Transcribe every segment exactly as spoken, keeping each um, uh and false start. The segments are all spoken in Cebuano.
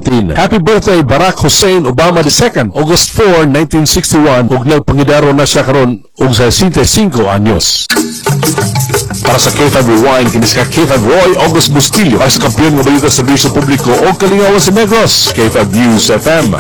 twenty seventeen. Happy birthday, Barack Hussein Obama the Second, August four, nineteen sixty-one, ug nagpangidaro na siya karon og sa sesenta y singko anyos. Para sa K five Rewind, kini si K five Roy August Bustillo, para sa kampiyon nga balita sa serbisyo publiko o kalingawan sa Negros, K five News F M.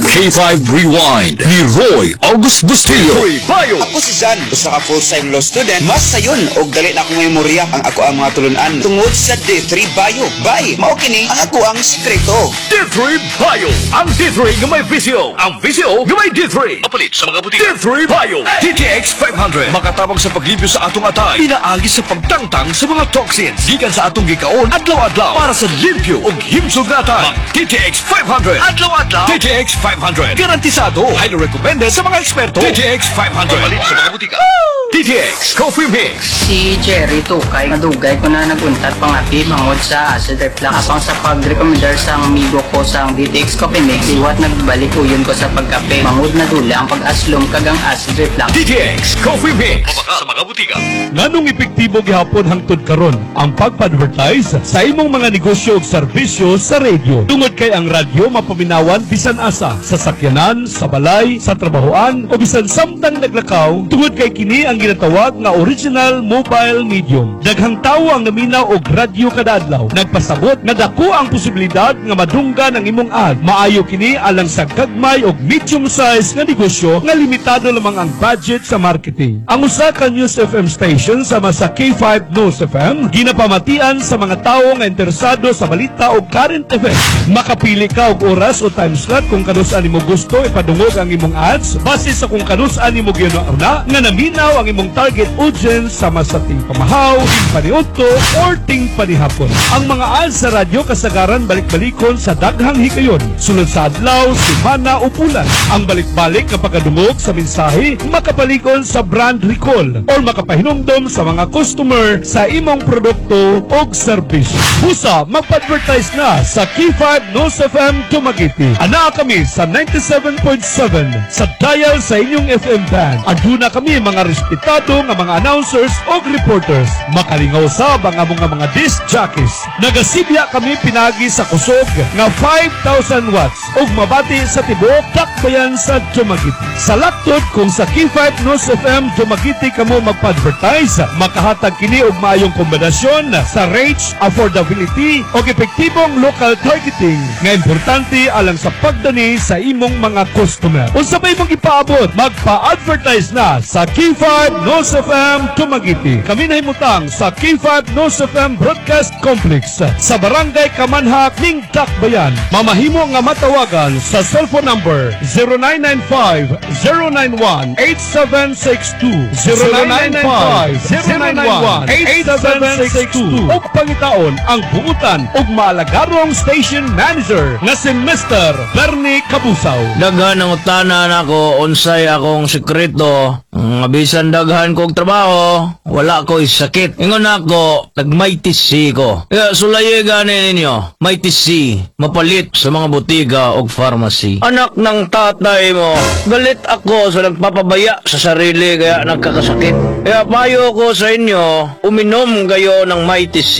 K five Rewind ni Roy August Bustillo. Bayo. Ako si Zan, usa ka full-time law student. Mas sayon og dali na akong memorya ang ako ang mga tulunan tungod sa D three Bio. Bay, mao kini ang ako ang sikreto. D three Bio. Ang D three nga may V C O. Ang V C O nga may D three. Mapalit sa mga butika. D three Bio. D T X five hundred. Makatabang sa paglimpyo sa atong atay. Pinaagi sa pagtangtang sa mga toxins. Gikan sa atong gikaon adlaw-adlaw. Para sa limpyo ug himsog nga atay. Mag D T X five hundred. Adlaw-adlaw. D T X five hundred. Garantisado. Highly recommended sa mga eksperto. D T X five hundred. Mapalit sa mga butika. D T X Coffee Mix. Si Jerry Tukay, nadugay ko na naguntat pangapi mangod sa acid reflux. Apang sa pag-recommendar sa amigo ko sa D T X Coffee Mix, liwat nagbalik uyon ko sa pagkape. Mangod na dula ang pag-aslom kag ang acid reflux. D T X Coffee Mix. Mabaka sa mga butika. Nganong epektibo gihapon hangtod karon ang pagpa-advertise sa imong mga negosyo ug serbisyo sa radio? Tungod kay ang radyo mapaminawan bisan asa, sa sakyanan, sa balay, sa trabahoan o bisan samtang naglakaw, tungod kay kini ang ginatawag nga original mobile medium. Daghang tawo ang naminaw og radyo kada adlaw. Nagpasabot nga dako ang posibilidad nga madunggan ang imong ad. Maayo kini alang sa gagmay og medium size nga negosyo nga limitado lamang ang budget sa marketing. Ang usa ka News F M station sama sa K five News F M ginapamatian sa mga tawo nga interesado sa balita o current events. Makapili ka og oras o time slot kung kanus-a nimo gusto ipadungog ang imong ads base sa kung kanus-a nimo gihuna nga naminaw ang imong target audience sama sa ting pamahaw, ting paniudto, or ting panihapon. Ang mga ads sa radyo kasagaran balik-balikon sa daghang higayon, sulod sa adlaw, semana o bulan. Ang balik-balik nga pagkadungog sa mensahe makapalikon sa brand recall or makapahinumdom sa mga customer sa imong produkto o serbisyo. Busa, magpa-advertise na sa K five News F M Dumaguete. Anaa kami sa ninety-seven point seven sa dial sa inyong F M band. Aduna kami mga respetado nga mga announcers o reporters. Makalingaw sab ang among nga mga disc jockeys. Nagasibya kami pinagi sa kusog nga five thousand watts ug mabati sa tibuok dakbayan sa Dumaguete. Sa laktod, kung sa K five News F M Dumaguete kamo magpa-advertise, makahatag kini og maayong kombinasyon sa reach, affordability ug epektibong local targeting nga importante alang sa pagdani sa imong mga customer. Unsa ba imong ipaabot? Magpa-advertise na sa K five News F M Dumaguete. Kami nahimutang sa K five News F M Broadcast Complex sa Barangay Kamanhak ning Dakbayan. Mamahimo nga matawagan sa cellphone number zero nine nine five, zero nine one, eight seven six two, zero nine nine five, zero nine one, eight seven six two, ug pangitaon ang buutan ug maalagarong station manager nga si Mister Bernie Kabusaw. Daghan ang utana nako unsay akong sekreto nga bisan daghan kog trabaho, wala ko'y sakit. Ingon ako, nag-Mighty C ko. Kaya sulayi gani ninyo, Mighty C, mapalit sa mga botika og pharmacy. Anak ng tatay mo, galit ako sa nagpapabaya sa sarili kaya nagkakasakit. Kaya payo ko sa inyo, uminom kayo ng Mighty C.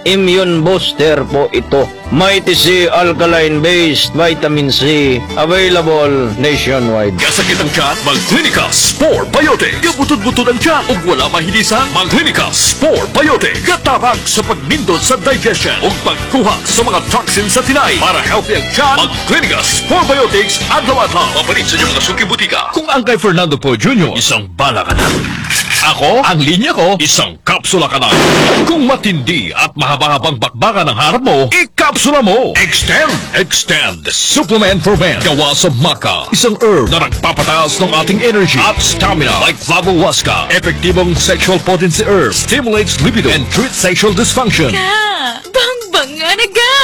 Immune booster po ito. Mighty C Alkaline Based Vitamin C. Available nationwide. Gasakit ang tiyan, mag-Clinica Spore Biotic. Gabutod-butod ang tiyan ug wala mahilisan, mag-Clinica Spore Biotic. Katabang sa pagnindot sa digestion ug pagkuha sa mga toxins sa tinay. Para healthy ang tiyan, mag-Clinica Spore Biotics adlaw-adlaw. Mapalit sa inyong mga suki butika. Kung ang kay Fernando Poe Junior, isang bala ka na. Ako, ang linya ko, isang kapsula ka na. Kung matindi at mahaba-habang bakbakan ang harap mo, ikapsula mo. Extend! Extend! Supplement for men. Gawa sa maca. Isang herb na nagpapataas ng ating energy at stamina. Like Flavohuasca. Epektibong sexual potency herb. Stimulates libido and treats sexual dysfunction. Ka! Bangbang nga naga!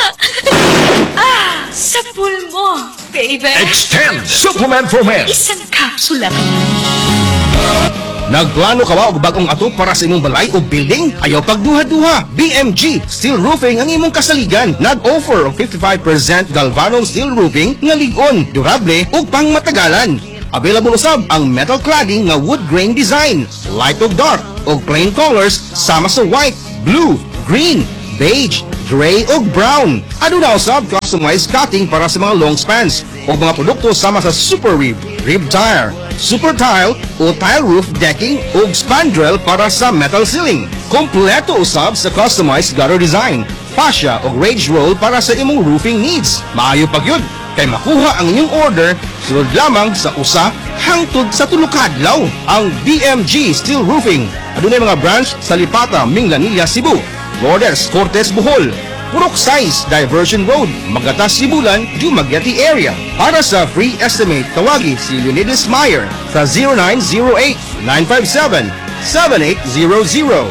Ah! Sa pool mo, baby! Extend! Supplement for men. Isang kapsula ka na. Nagplano ka ba og bagong atop para sa imong balay o building? Ayaw pagduha-duha. B M G Steel Roofing ang imong kasaligan. Nag-offer og fifty-five percent Galvano Steel Roofing nga lig-on, durable ug pangmatagalan. Available usab ang metal cladding nga wood grain design, light ug dark, ug plain colors sama sa white, blue, green, beige, gray ug brown. Aduna usab customized cutting para sa mga long spans o mga produkto sama sa super rib, rib tire, super tile o tile roof decking ug spandrel para sa metal ceiling. Kompleto usab sa customized gutter design, fascia o rage roll para sa imong roofing needs. Maayo pa gyud kay makuha ang inyong order sulod lamang sa usa hangtod sa tulo ka adlaw. Ang B M G Steel Roofing adunay mga branch sa Lipata, Minglanilla, Cebu, Lourdes, Cortes, Bohol, Purok Sais, Diversion Road, Magatas, Sibulan, Dumaguete area. Para sa free estimate, tawagi si Leonidas Meyer sa zero nine zero eight, nine five seven, seven eight zero zero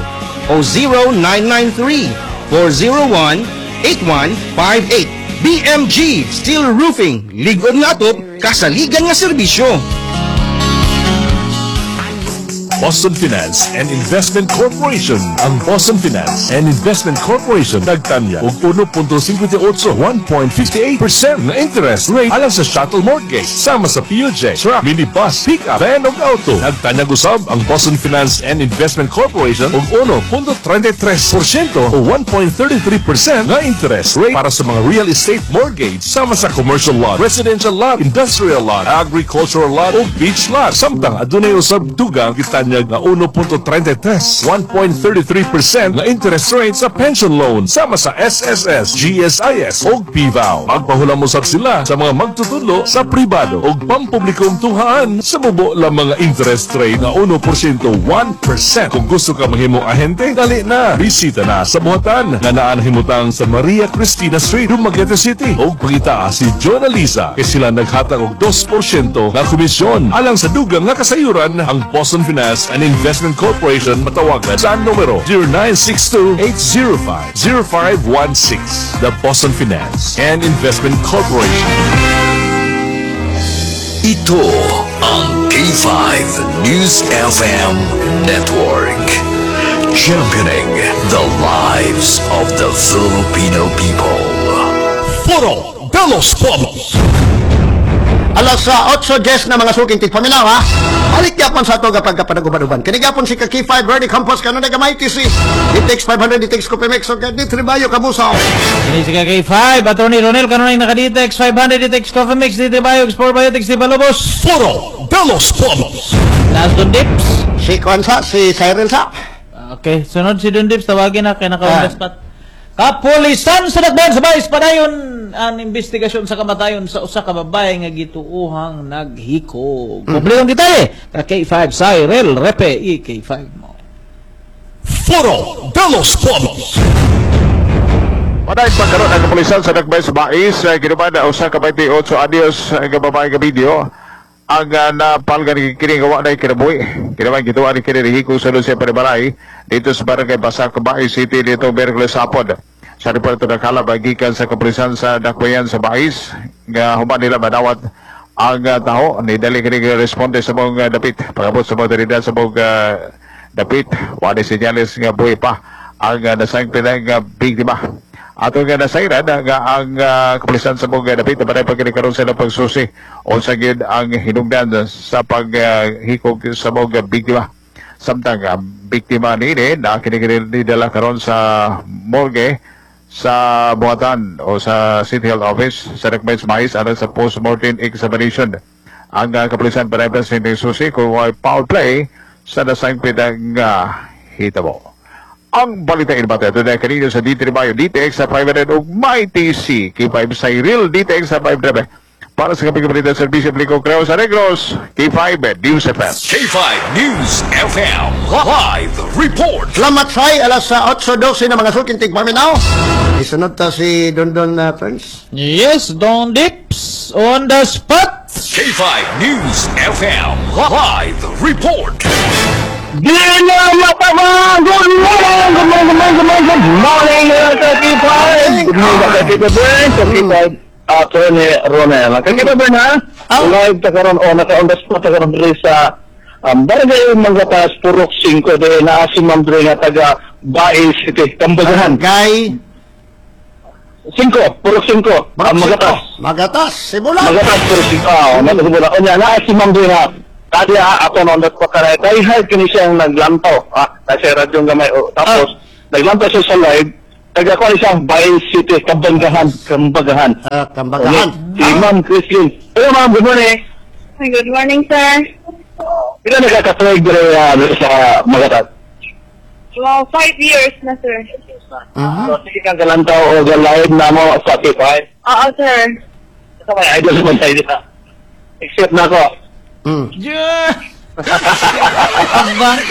o zero nine nine three, four zero one, eight one five eight. B M G Steel Roofing, lig-on nga atop, kasaligan nga serbisyo. Boston Finance and Investment Corporation. Ang Boston Finance and Investment Corporation nagtanyag og one point five eight, one point five eight percent na interest rate alang sa chattel mortgage sama sa P U J, truck, minibus, pickup, van ug auto. Nagtanyag usab ang Boston Finance and Investment Corporation og one point three three percent o one point three three percent na interest rate para sa mga real estate mortgage sama sa commercial lot, residential lot, industrial lot, agricultural lot o beach lot. Samtang adunay usab dugang gitanyag nga one point three three, one point three three percent na interest rate sa pension loan sama sa S S S, G S I S o P V A O. Magpahulam usab sila sa mga magtutudlo sa pribado o pampublikong tunghaan sa mubo lang mga interest rate nga one percent, one percent. Kung gusto ka mahimong ahente, dali na. Bisita na sa buhatan nga naa nahimutang sa Maria Cristina Street, Dumaguete City. O pangita si John Alisa kay sila naghatag og two percent nga komisyon. Alang sa dugang nga kasayuran, ang Boston Finance and Investment Corporation matawagan sa numero zero nine six two, eight zero five, zero five one six. The Boston Finance and Investment Corporation. Ito ang K five News F M Network. Championing the lives of the Filipino people. Foro de los Pueblos. Alas sa eight ten na, mga suking tigpaminaw, ha. Balik gyapon sa ato kapag kapanaguban-uban. Kini gyapon si ka K five Bernie Campos kanunay gamay T C. D T X five hundred, D T X Copimex ug D three Bayo Kabusaw. Kini si K five, Attorney Ronel kanunay naka-D T X five hundred, D T X Coffee Mix, D T Bayo, Sport Biotics, di Palubos. Foro de los Pueblos. Last Don Dips. Si Kwansa, si Cyril sa. Okay, sunod si Don Dips, tawagin na kay naka on the Ah. spot. Kapulisan sa Dakbayan sa Bais padayon ang investigasyon sa kamatayon sa usa ka babae nga gituohang naghikog. Mm. Kompletong detalye ka K five Cyril Repe, E K five mo. Foro de los Pueblos. Padayon pagkaroon ang kapulisan sa Dakbayan sa Bais, uh, ginuman na usa ka twenty-eight anyos nga babae nga video ang uh, napalgan ni kini nga wa na kinabuhi. Kinaman gituan ni kini nihikog sa siya panibalay dito sa Barangay Basak, Bais City dito Miyerkules hapon. Sa report nakalap gikan sa kapulisan sa Dakbayan sa Bais nga human nila madawat ang uh, tao ni dali kini responde sa mga dapit. Pagabot sa mga otoridad sa mga uh, dapit, wala senyales nga buhi pa ang uh, nasangpit nga biktima. Ato nga nasayran nga ang uh, kapulisan sa mga dapit na pag karon sila pagsusi unsa gyud ang hinungdan sa paghikog uh, sa mga biktima. Samtang ang biktima niini na kini dala karon sa morgue sa buhatan o sa City Health Office sa Dakbayan sa Mais aron sa post-mortem examination. Ang uh, kapulisan pa sa susi kung may foul play sa nasangpit ang uh, hitabo. Ang balita inibata ito na kanino sa D three Bayo, D T X sa five hundred ug My T C, K five Cyril, D T X sa five hundred. Para sa kapig balita serbisyo publiko Creo sa Negros, K five News F M. K five News F M Live Report. Salamat say alas sa eight twelve na, mga suking tigpaminaw. Isunod ta si Dondon uh, Prince. Yes, Don Dips on the spot. K five News F M Live Report. Good morning, good morning, good morning, good morning, good morning, good morning, uh, K five. Good morning, K five Bern, K five, Attorney Ronel. K five Bern, ha? Live ta karon o naka on the spot ta karon diri sa um, Barangay Manggatas, Purok five de naa si Ma'am diri nga taga Bais City, Kambagahan. Kay five, Purok five, um, Magatas. Magatas, Sibulan. Magatas, Purok five. Ah, oh, Sibulan. Unya naa si Ma'am diri nga kadi ha, ako na on the spot karay. Kay hard kini siyang naglantaw. Ah, kasi radyo gamay. Oh, tapos, naglantaw siya sa live. Taga ko siya, Bais City, Kabanggahan, Kambagahan. Ah, Kambagahan. Si Ma'am Christine. Hello ma'am, good morning. Good morning, sir. Pila na ka katuig dire uh, sa Magatat? Well, five years na, sir. So, sige kang galantaw o live na mo sa K five. Oo, sir. Sa may idol naman tayo dito. Except na ako. Mm. Yeah.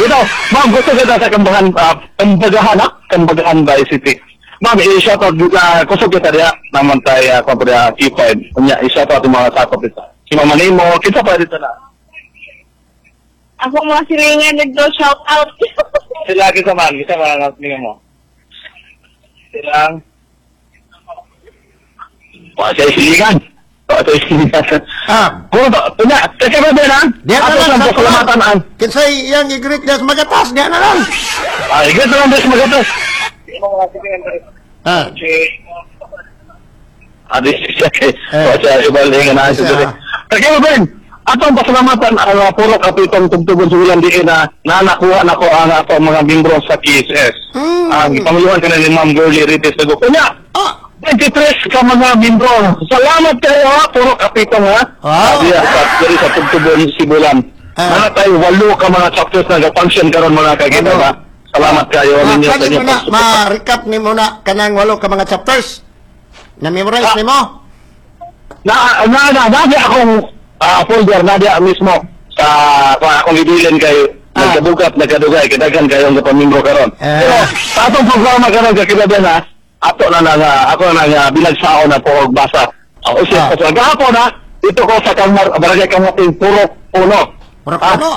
Ito, ma'am, gusto kita sa Kambahan, uh, Kambagahan, ha? Kambagahan Bais City. Ma'am, i-shout out, uh, kusog kita diya, naman tayo, uh, kung diya, K five. Kunya, i-shout out yung mga sakop dito. Si Mama Nemo, kita pa dito na. Ako mga silingan nagdo shout out. Sila, kita man, kita man, ang tingnan mo. Silang, Wah, siya silingan. Wah, siya silingan. Ah. Puro ba, kunya, kasi ba din, ha? Diyan na Ato lang lang, sa pasalamatan ang, Kinsay iyang i-greet niya sa Magatas, diyan na lang. Ah, i-greet na lang din sa Magatas. Ah. Ah, di siya kay, eh, siya ibalingan na siya dili. Kaya ba Ben, atong pasalamatan ang uh, puro kapitong tugtugon sa ulan diin na nanakuha na ko ang atong mga membro sa K S S. Ang ipanguluhan ka na ni Ma'am Girlie Rites Dago. Kunya, twenty-three ka mga membro. Salamat kayo ha, puro kapitong ha. Ah. Diya, sa, diri sa Tugtugon, Sibulan. Mga tayo, walo ka mga chapters na nag-function karon, mga kakita ba? Salamat kayo Ma, ninyo sa pwede mo inyong na, pagsuporta. ma-recap ni mo na kanang walo ka mga chapters. Na-memorize ni mo? Na na na na na akong ah, folder na diya mismo sa kung akong ibilin kay nagkabukat, nagkadugay kay daghan kayong kapamembro karon. Pero sa atong programa karon, kakita na ato na na nga ako na nga binagsao na po og basa. O siya uh. Gahapon na dito ko sa Kamar Barangay Kamating, Purok Uno. Purok Uno.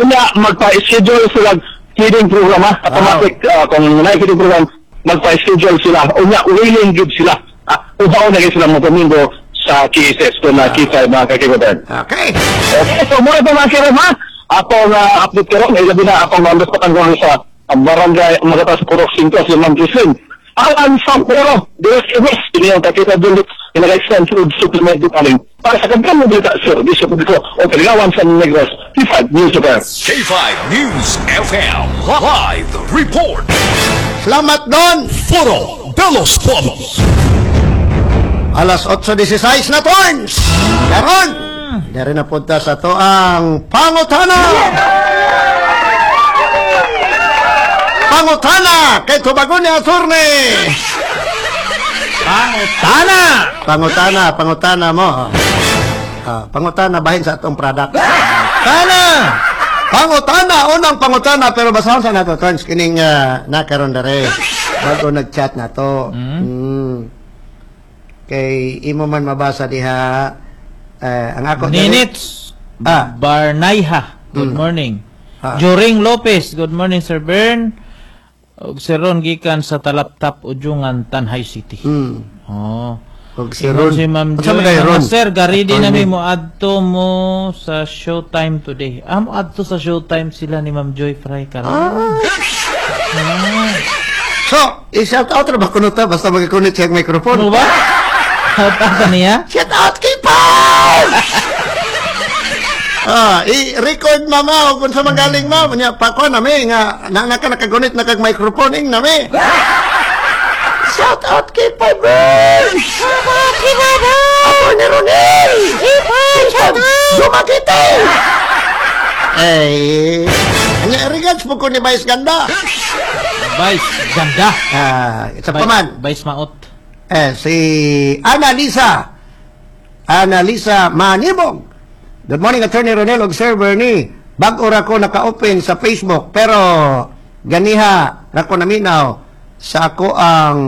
Unya magpa-schedule sila feeding program ha. Automatic ah, kung na feeding program, magpa-schedule sila. Unya willing gid sila. Ah, ubaw na gid sila mo domingo sa K S S kung na K five, mga kakigutan. Okay. Okay, so muna ito, mga kiram ha. Atong uh, update karon, ay labi na akong uh, ko sa uh, Barangay Magatas Purok five, si Ma'am Christine. Alan Sampero, Dios Ibis, ini ang kakita dulot, nag-extend food supplement aling para sa kagam mo dito sa serbisyo publiko o kaligawan sa Negros, K five News F M. K five News F M Live Report. Salamat Don! Foro de los Pueblos. Alas otso sesenta y seis na, turns! Karon, dari na punta sa to ang pangutana! Pangutana! Kay tubagon ni Aturne! Pangutana! Pangutana, pangutana mo. Ah, pangutana bahin sa atong product. Tana! Pangutana, unang pangutana, pero basahon sa nato, turns, kining uh, nakaron dere. Bago nag-chat na to. Mm. Kay imo man mabasa diha eh, ang ako dere- Ninits Ah. Barnayha. Good morning. Ah. Joring Lopez. Good morning, Sir Bern. Ug si Ron gikan sa Talaptap, Ujungan, Tanjay City. Mm. Oh. Og si Ron. Si Ma'am Unsa Joy. man kay Ron? Mga sir, garidi Attorney. nami mo adto mo sa Showtime today. Ah, mo adto sa Showtime sila ni Ma'am Joy Fry karon. Ah. So, i-shout out ra ba kuno ta basta magakunit siya ang microphone? Ano ba? Shout out ka niya? Shout out kay Paul! Ah, i-record mama o kung sa magaling ma, nya pa ko nami nga na na ka nakagunit na kag microphone ing nami. Shout out kay Paul! Shout out kay Ako ni Ronel! Shout out! Dumaguete! Eh, anya regards po ko ni Vice Ganda. Vice Ganda. Ah, isa pa man. Vice Maot. Eh, si Annalisa. Annalisa Manibog. Good morning, Attorney Ronel og Sir Bernie. Bag-o ra ko naka-open sa Facebook pero ganiha ra ko naminaw sa ako ang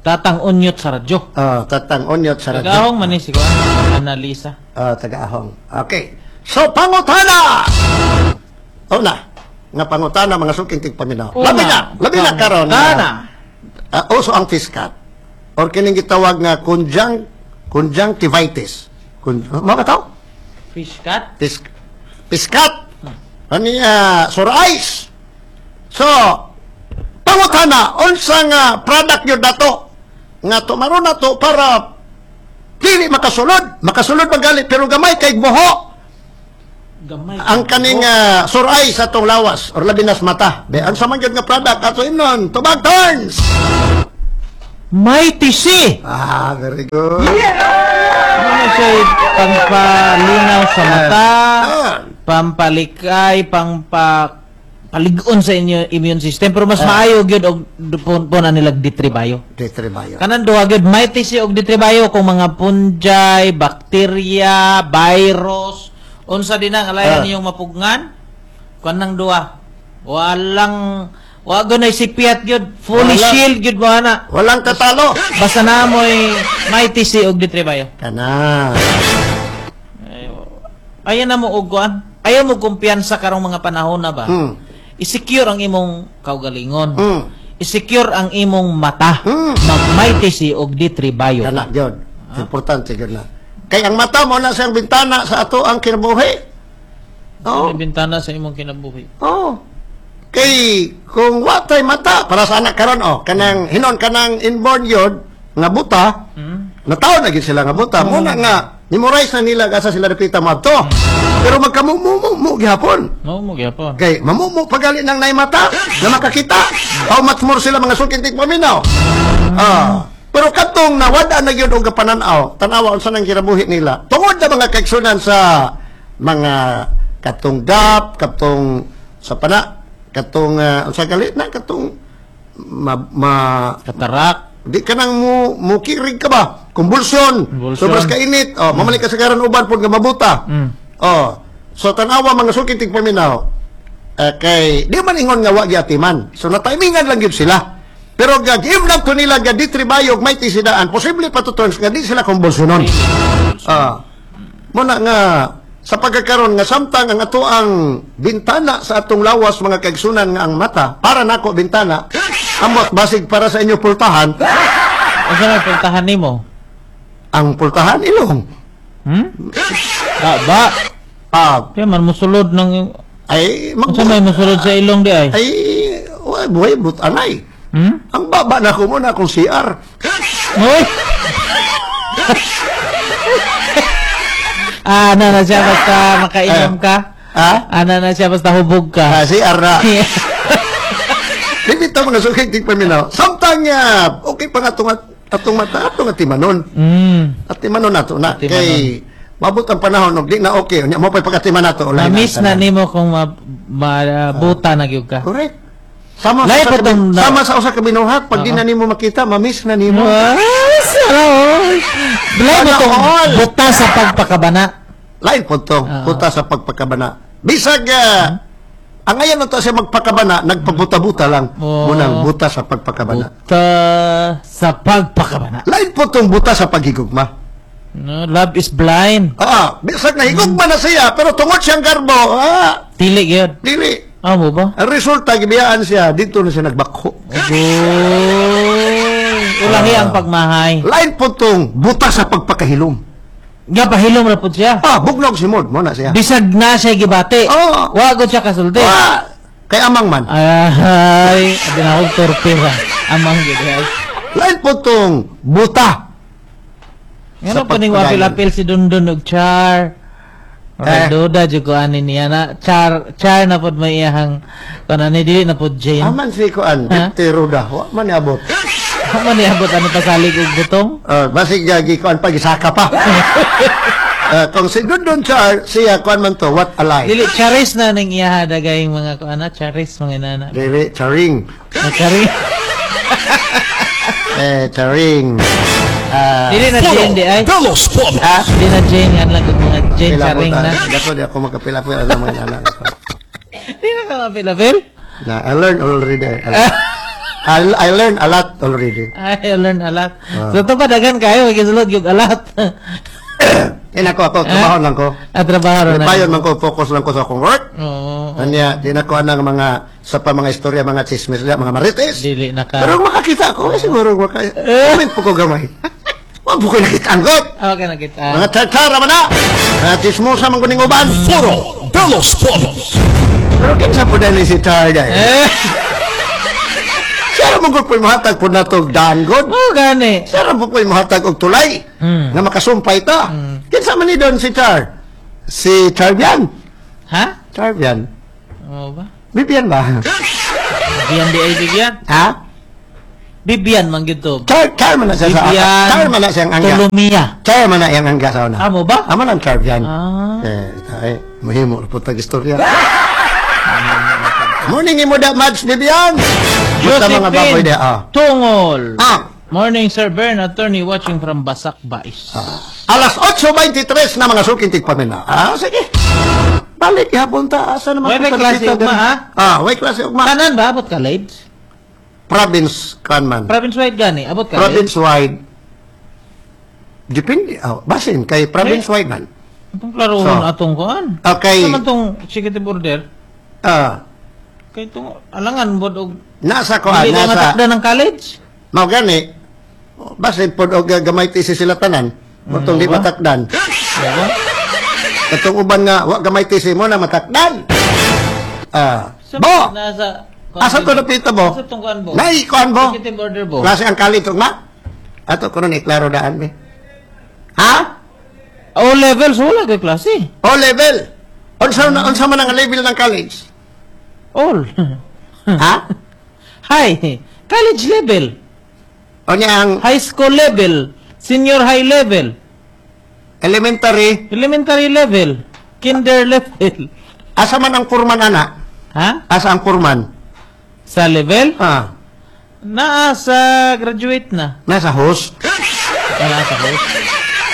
Tatang Unyot sa radyo. uh, Tatang Onyot sa radyo. Tagaahong man ni si Kuan, Annalisa. Ah, tagaahong. Okay. So, pangutana! Una, nga pangutana, mga suking tigpaminaw. Una, Labi na, labi na karon. Pangutana. Uh, uso ang fish cut. Or kining gitawag nga conjunct conjunctivitis. Kun, mo ka tao? Fish cut? Fish, fish cut. Ano niya, sore eyes. So, pangutana, unsa nga product yun dato? Nga tumaron na to para dili makasulod. Makasulod magali pero gamay kay buho. Gamay. Ang kaning uh, suray sa atong lawas or labi nas mata. Be, ang sama gyud nga product ato imnon, tubag turns. Mighty C. Ah, very good. Ano siya pampalinaw sa mata, Ah. pampalikay, pangpa palig-on sa inyo immune system, pero mas Ah. maayo gyud og pun na nilag D three Bio. D three Bio. Kanan duha gyud, Mighty C og D three Bio, kung mga fungi, bakterya, virus, unsa din ang alayan Ah. niyong mapugngan, kanang duha. Walang wa gyud nay sipiat gyud, fully Wala. Shield gyud mo ana. Walang katalo. Basta na mo'y Mighty C og D three Bio. Kana. Ayan na mo og kuan. Ayaw mo kumpiyansa karong mga panahon na ba? Hmm. I-secure ang imong kaugalingon. Hmm. I-secure ang imong mata. Hmm. Mag Mighty C og D three Bio. Kana gyud. Importante gyud na. Kay ang mata mo na siyang bintana sa ato ang kinabuhi. Oh. Bintana sa imong kinabuhi. Oh. Kay kung wa tay mata para sa anak karon, oh, kanang hinon kanang inborn yod nga buta, Hmm? nataw na gyud sila nga buta. Muna nga memorize na nila asa sila dapita moadto. Pero magkamumumu gihapon. Mao mo gyapon. Kay mamumu pagali ng nay mata na makakita. How much more sila mga suking tigpaminaw. Ah. Pero katong nawada na gyud og pananaw, tanawa unsa nang kinabuhi nila. Tungod na mga kaigsunan sa mga katong gap, katong sa pana, katong uh, unsa gali na katong ma, ma Katarak. Di ka nang mo mukirig ka ba? Convulsion. Convulsion. Sobras ka init. Oh, mamalik ka sa karan uban pod nga mabuta. Mm. Oh. So tanawa mga suking tigpaminaw. Eh, kay di man ingon nga wa giatiman. So natimingan lang gyud sila. Pero ga give na to nila ga D three Bio og may tisidaan, posible pa to turns nga di sila convulsionon. Ah. Muna nga sa pagkakaron nga samtang ang ato ang bintana sa atong lawas, mga kaigsunan, nga ang mata para nako bintana, ambot basig para sa inyo pultahan. Unsa may pultahan nimo? Ang pultahan ilong. Hmm? Ba, ba. Ah, Kaya man musulod ng ay mag Unsa may musulod sa ilong di ay? Ay way buhay but anay. Hmm? Ang baba na ko muna akong C R. Hoy. Ah, ana na siya basta makainom ka. Ha? Ana na siya basta hubog ka. Ah, C R na. Dito mga suking tigpaminaw. Samtang uh, okay pa nga atong atong mata atong atimanon. Mm. Atimanon nato na Atimanon. kay mabot ang panahon og di na okay unya mo pa'y pagatiman nato ulay Na-miss na tanan. nimo kung ma mabuta na gyud ka. Correct. Sama Lahi sa pa usa ka, tong- sama sa usa ka binuhat pag di Oo. na nimo makita, ma-miss na nimo. Ah, sarap. Lahi mo Sana tong all. buta sa pagpakabana. Lain po to, Oo. puta sa pagpakabana. Bisag uh, ang ayan na to siya magpakabana, nagpabuta-buta lang. Oo. Munang buta sa pagpakabana. Buta sa pagpakabana. Lain po tong buta sa paghigugma. No, love is blind. Ah, bisag na higugma na siya, pero tungod siyang garbo, ah, Dili gyud. dili. Ah, mo ba? Ang resulta, gibiyaan siya, dito na siya nagbakho. Oy, ulahi ang pagmahay. Lain po tong buta sa pagpakahilom. Nga pahilom ra pud siya. Ah, bugnog si Mod, mo na siya. Bisag na siya gibati. Oo. Wa gud siya kasulti. Ah, kay amang man. Ay, abi na akong torpe ba. Amang gid ay. Lain po tong buta. Ngano Sa pa ning pagpadayon. wapil-apil si Dundun og Char? Eh. Eh. Duda jud ko ani niya na Char Char na pod may iyahang kuan ani, dili na pod Jane. Aman si Kuan, Ha? Dipte Ruda, wa man niabot. Man niabot ano pasalig og butong? Uh, basig gagi kuan pa gisaka pa. Uh, kung si Dundun Char, siya kuan man to, what a lie. Dili Charis na ning iyaha dagayng mga kuan na Charis mga inana. Dili, Charing. Na Charing. Eh, Charing. Ah, Dili na Jane di ay. De los Pueblos. Ha? Dili na Jane nga lang kung mga Jane Pila po Charing ta. na. Dato di ako makapila-pila sa mga anak. Di na ka mapilapil? Na, I learned already. I, I learned a lot already. Ay, I learned a lot. Ah. So, ito pa, daghan kayo, magisulod yung a lot. Eh, nako ako, trabaho lang ko. At trabaho na. Payon man ko, focus lang ko sa akong work. Oo. Anya, di na ko anang mga, sa pa mga istorya, mga chismis, mga marites. Dili na ka. Pero kung makakita ako, eh, siguro, maka, comment po ko gamay. Wag po ko nakita ang got. Okay, nakita. Mga tsartsara man na. Mga chismosa man ko ning uban. Foro de los Pueblos. Pero kinsa po dahil si Char dahil? Eh, Siya mo po mahatag po na to daan god. oh, gani. Siya po po mahatag og tulay Hmm. nga makasumpay ta. Kinsa man ni doon si Char? Si Charbian. Ha? Charvian. Oo ba? Bibian ba? Bibian di ay Bibian? Ha? Bibian man gyud to. Char, char man na siya sa Bibian. Char man na siyang angga. Tolomia. Char man na iyang angga sa una. Amo ba? Amo nang Charvian. Ah. Eh, ay, mahimo po tag istorya. Morning imo da Mads Bibian. Basta mga baboy Josephine dia. Ah. Tungol. Ah. Morning, Sir Bern, attorney watching from Basak, Bais. Alas otso bingtitres na, mga suking tigpamina. Ah, sige. Balik gihapon ta, asa naman Way ko klase kita ugma, diri? ha? Ah, way klase ugma. Tanan ba abot college? Province kan man. Province wide gani, abot college? Province wide. Depende, oh, basin kay province wide man. Itong klarohon So, atong kuan. Okay. Ano man tong executive order? Ah, Kay itong alangan bod og nasa kuan, dili na nasa matakda ng college. Mao gani. Basin pod og gamay ti sila tanan. Motong di ba? matakdan. Diba? Katong uban nga wa gamay ti mo na matakdan. Ah, Sa bo. Nasa Asa to napita bo? Asa tong kuan bo? Nay kuan bo. Executive order bo. Klase ang college ugma. Ato kuno ni klaro daan be. Ha? O levels wala kay klase. O level. Unsa na unsa man ang level ng college? All. Ha? Hi. College level. O niya ang High school level. Senior high level. Elementary. Elementary level. Kinder level. Asa man ang kurman ana? Ha? Asa ang kurman? Sa level? Ah, Naa sa graduate na. Nasa host. Wala sa host.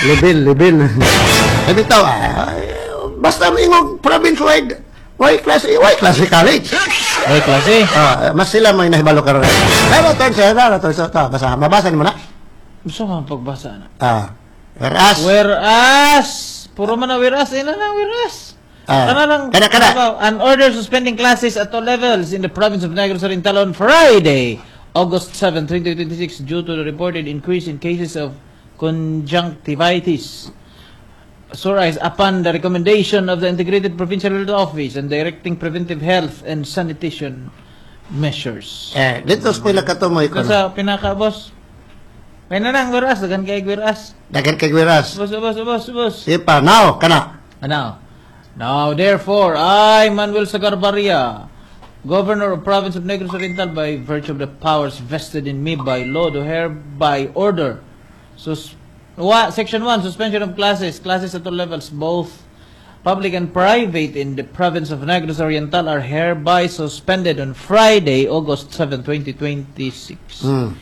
Level, level. Eh bitaw, ah, basta ingog province wide, why class, why class college? Ay, klase. Ah, mas sila may nahibalo karon. Pero to sir, pero to, to, basa, mabasa nimo na. Gusto ka pagbasa na. Ah. Whereas, Whereas, puro man na whereas, ina na whereas. Ah. Kana lang, Kana, kana. An order suspending classes at all levels in the province of Negros Oriental on Friday, August seventh, twenty twenty-six, due to the reported increase in cases of conjunctivitis. Sore eyes, upon the recommendation of the Integrated Provincial Health Office and directing preventive health and sanitation measures. Eh, dito sa pila ka to mo ikon. Sa pinaka, boss. May na nang whereas, daghan kay whereas. Daghan kay whereas. Boss, boss, boss, boss. Sipa, now, kana. Ano? Now, therefore, I, Manuel Sagarbarria, Governor of Province of Negros Oriental, by virtue of the powers vested in me by law, do hereby order. Sus wa, Section one, suspension of classes, classes at all levels, both public and private in the province of Negros Oriental are hereby suspended on Friday, August seventh, twenty twenty-six. Hmm.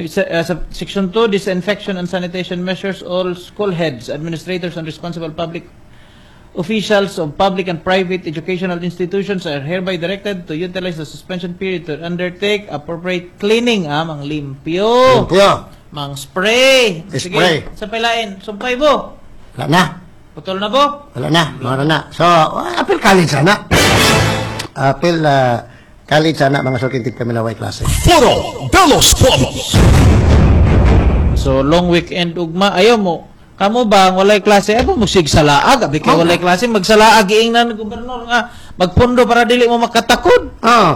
Sa- uh, sa Section two, disinfection and sanitation measures, all school heads, administrators, and responsible public officials of public and private educational institutions are hereby directed to utilize the suspension period to undertake appropriate cleaning. Ah, mang limpyo. Limpyo. Mang spray. Sige, Spray. sa pilain, sumpay bo. Wala na. Putol na bo. Wala na. Wala na. So, apil college sana. Apil uh, college sana, mga suking tigpaminaw, way klase. Foro de los Pueblos. So, long weekend ugma. Ayaw mo. Kamo ba, ang walay klase, ay mo sig salaag. Abi kay walay klase, magsalaag iingnan ni gobernador nga magpundo para dili mo makatakod. Oo.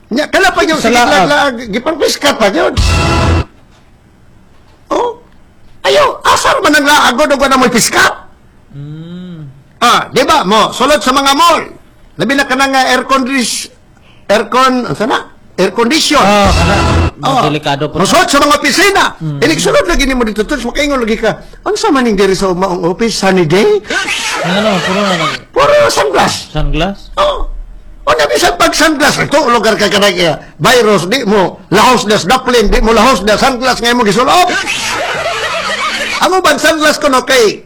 Nya kala pa yung sige Salaag. lag gipang piskat pa yun. Oh. Ayaw, asar man ang laagod og wala mo'y piskat. Ah, di ba mo, sulod sa mga mall. Labi na kanang nga air condition aircon, ano na? Air condition. Oh, kana. Oh. Delikado po. Mosulod sa mga opisina. Mm. Inig sulod lagi nimo dito, tuts makaingon lagi ka. Unsa man ning diri sa maong office sunny day? Ano, puro na nag Puro sunglass. Sunglass? Oh. O na bisan pag sunglass ito lugar ka kanang eh, virus di mo lahos das daplin, di mo lahos da sunglass ngay mo gisulop. Ang uban sunglass kuno kay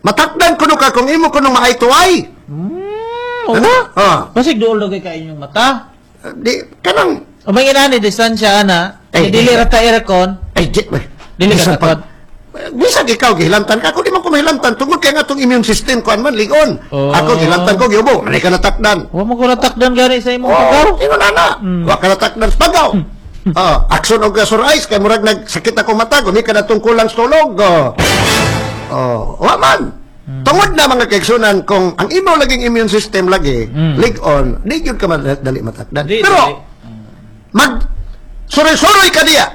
matakdan kuno ka kung imo kuno maay to eye. Hmm, Ano? Ah. Basig duol daw kay ka inyong mata. Di kanang O may inani distansya ana. Ay, Ay, dili ra ta aircon. Ay di Dili ka bisan takot. pag- Bisan ikaw gihilamtan ka, ako di man ko mahilamtan tungod kay nga atong immune system kuan man ligon. Oh. Ako gihilamtan ko giubo, wala ka natakdan. Wa mo ko natakdan gani sa imong Oh, pagaw. ingon ana. Wa ka natakdan sa pagaw. Oh, action og sore eyes kay murag nagsakit ako mata, gumi ka na kulang sa tulog. Oh. Oh, wa man. Tungod na, mga kaigsunan, kung ang imo laging immune system lagi lig-on, di gyud ka dali matakdan. Di, Pero dali. mag suroy-suroy ka diya.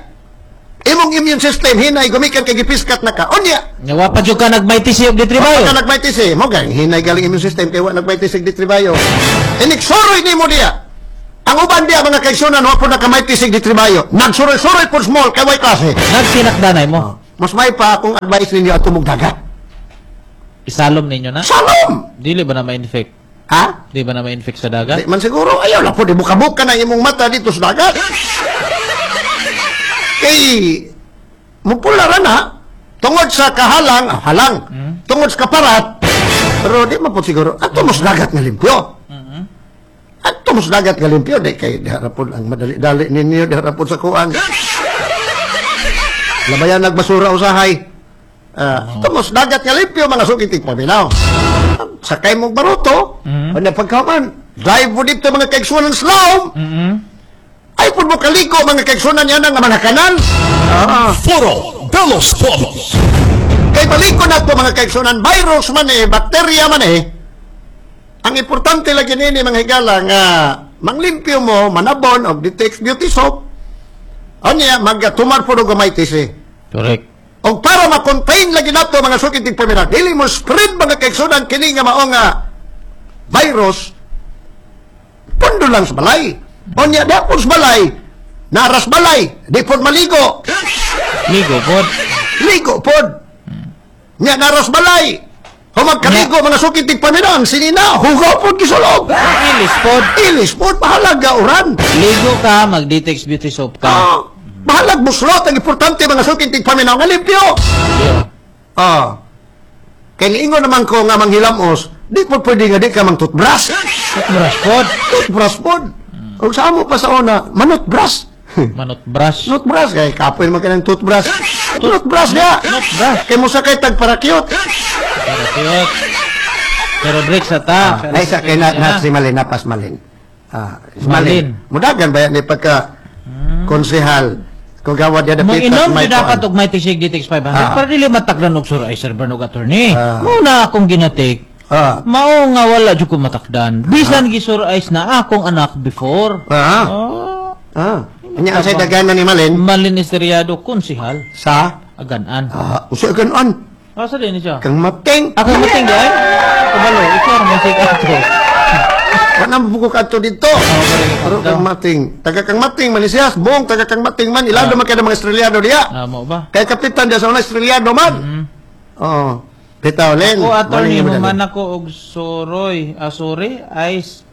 Imong immune system hinay gumikan kay gipiskat na ka. Unya, Nya wa pa jud ka nag-Mighty C og D three Bio. Wa ka nag-Mighty C, mo gang hinay galing immune system kay wa nag-Mighty C D three Bio. Iniksuroy nimo diya. Ang uban diya, mga kaigsunan, wa po naka-Mighty C D three Bio. Nagsuroy-suroy po small kay way klase. Nagsinakdanay mo. Mas may pa akong advice ninyo at tumog dagat. Isalom ninyo na? Salom! Dili ba na ma-infect? Ha? Di ba na ma-infect sa dagat? Di man siguro, ayaw lang po, di buka-buka na imong mata dito sa dagat. Kay, mupula ra na, tungod sa kahalang, ah, halang, tungod sa kaparat, pero di man po siguro, ato mo sa dagat nga limpyo. Ato mo sa dagat nga limpyo, di kay, di harapon ang madali-dali ninyo, di harapon sa kuan. Labayan nagbasura usahay. Uh, uh, sa dagat nga limpyo, mga sukitig paminaw. Sakay mong baruto, mm-hmm. Ano pagkaman, drive mo dito mga kaigsunan slum, mm-hmm. Ay po mo kaliko mga kaigsunan yan ang mga kanan. Ah. Foro de los Pueblos. Kay baliko na to mga kaigsunan, virus man eh, bakterya man eh. Ang importante lagi nini mga higala nga manglimpyo mo, manabon og D T X Beauty Soap. Anya magtumar po og Mighty C. Correct. Og para ma-contain lagi nato mga sukiting pamilya, dili mo spread mga kaigsunan kini nga mao nga virus, pundo lang sa balay. Onya di po sa balay, naras balay, di po maligo. Ligo pod. Ligo pod. Nya naras balay. Humagkaligo mga sukiting pamilya, ang sinina, hugaw pod gisulog. Ilis pod. Ilis pod, mahalaga uran. Ligo ka, mag-D T X Beauty Soap ka. Ah, bahalag muslot ang importante mga sukiting paminaw nga limpyo. Yeah. Ah. Kay niingon naman ko nga manghilamos, di po pwede nga di ka mang toothbrush. Toothbrush pod. Toothbrush pod. Og sa amo pa sa una, manutbrush. Manut brush. Toothbrush kay kapoy naman ka ng toothbrush. Toothbrush niya. Toothbrush. Kay mo sakay tag para cute. Pero cute. Pero break sa ta. Ay sa kay na, na si Malin napas Malin. Ah, si Malin. Malin. Mudagan ba yan ni pagka konsehal kung gawad ya dapit Mag-inom di dapat og Mighty Shake D T X five hundred Ah. para dili matakdan og sur ay sir Bernog attorney. Ah. Muna akong ginatik. Ah. Mao nga wala jud ko matakdan. Bisan gisur ice na akong anak before. Ah. Oh. Ah. Nya ang say dagana ni Malin Malin Esteriado konsihal sa Agan-an. Ah, usa ganon. Asa din siya? Kang mating. Ako mating di ay. Kabalo, ikaw ra man sig ato. Wala mo ko kadto dito. Pero kang mating. Taga kang mating man siya, buong taga kang mating man ilado man kay mga Australiano diya. Ah, mo ba? Kay kapitan diya sa una Australiano man. Oo. Bitaw len. Ako attorney Maling mo human ako og suroy, ah, sorry, ice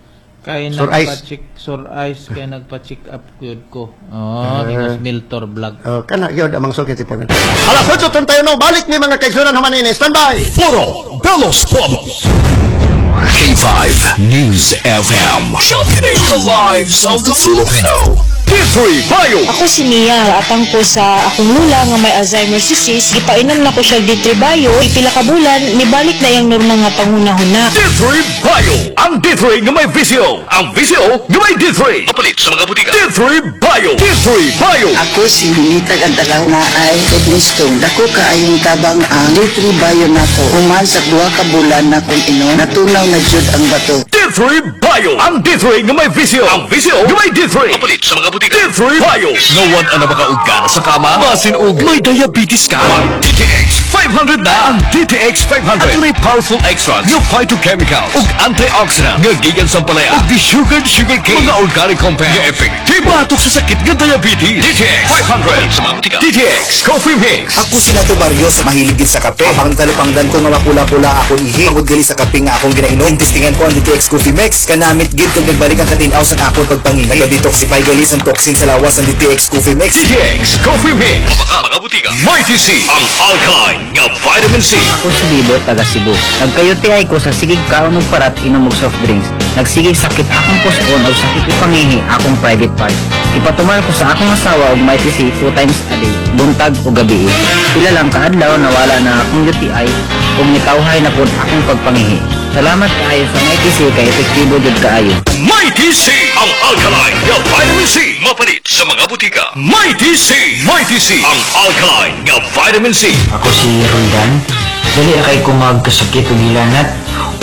kay Sur ice. nagpa-check sur ice kay nagpa-check up gyud ko. Oh, uh, Miltor vlog. Oh, kana gyud ang mga sukit po. Alas otso trenta'y uno, balik ni mga kaigsunan humanini. Stand by. Foro de los Pueblos. K five News F M. Championing the lives of the Filipino. P three Bio. Ako si Mia, atang ko sa akong lula nga may Alzheimer's disease, gipainom na ko siya D three Bio, pila ka bulan, nibalik na iyang normal nga panghunahuna. D three Bio. Ang D three nga may V C O. Ang V C O nga may D three. Kapalit sa mga butika. D three Bio. D three Bio. Ako si Ninita Gantalaw na ay kidney stone. Dako kaayong tabang ang D three Bio nato. Human sa duha ka bulan na kung inom, natunaw na jud ang bato. D three Bio. Ang D three nga may V C O. Ang V C O nga may D three. Kapalit sa mga butika. D three Bio. Ngawan ang makaugan sa kama. Basin og may diabetes ka. Mag D T X five hundred na ang D T X five hundred. Adunay powerful extracts nga phytochemical ug antioxidant nga gikan sa palaya ug di sugared sugar cane, mga organic compound nga epektibo batok sa sakit nga diabetes. D T X five hundred sa mga butika. D T X Coffee Mix. Ako si Nato Barrios, mahilig gid sa kape. Ang talupangdan ko nga mapula-pula akong ihi. Tungod gali sa kape nga akong ginainom. Testingan ko ang D T X Coffee Mix. Kanamit gid kag nagbalik ang katinaw sa akong pagpangihi. Nagka-detoxify gali sa toxin sa lawas ang D T X Coffee Mix. D T X Coffee Mix. Mga mga butika. Mighty C. Ang alkaline nga vitamin C. Ako si Bibo, taga Cebu. Nagka-U T I ko sa sigig kaon og parat, inom og soft drinks. Nagsigig sakit akong puson og sakit ipangihi akong private part. Ipatumar ko sa akong asawa og Mighty C two times a day, buntag o gabi. Pila lang kaadlaw nawala na akong U T I ug nitawhay na pud akong pagpangihi. Salamat kaayo sa Mighty C kay epektibo jud kaayo. Mighty C. Ang alkaline nga vitamin C. Mapalit sa mga butika. Mighty C. Mighty C. Ang alkaline nga vitamin C. Ako si Roldan. Dali kay ko magkasakit og hilanat.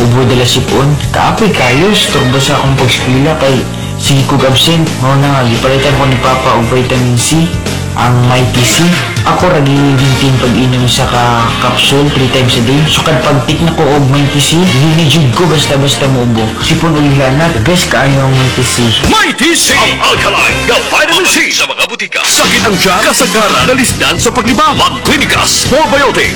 Ubo dala sipon. Kaapoy kayo, turbo sa akong pag-eskwela kay sige kog absent. Mao na nga gipalitan ko ni Papa og vitamin C. Ang Mighty C, ako ra gi-maintain pag-inom sa ka capsule three times a day. Sukad pag-take na ko og Mighty C, dili jud ko basta-basta muubo. Sipon ug hilanat, best kaayo ang Mighty C. Mighty C! Ang alkaline na vitamin C sa mga butika. Sakit ang tiyan, kasagaran, nalisdan sa paglibang. Mag-Clinica Spore Biotics.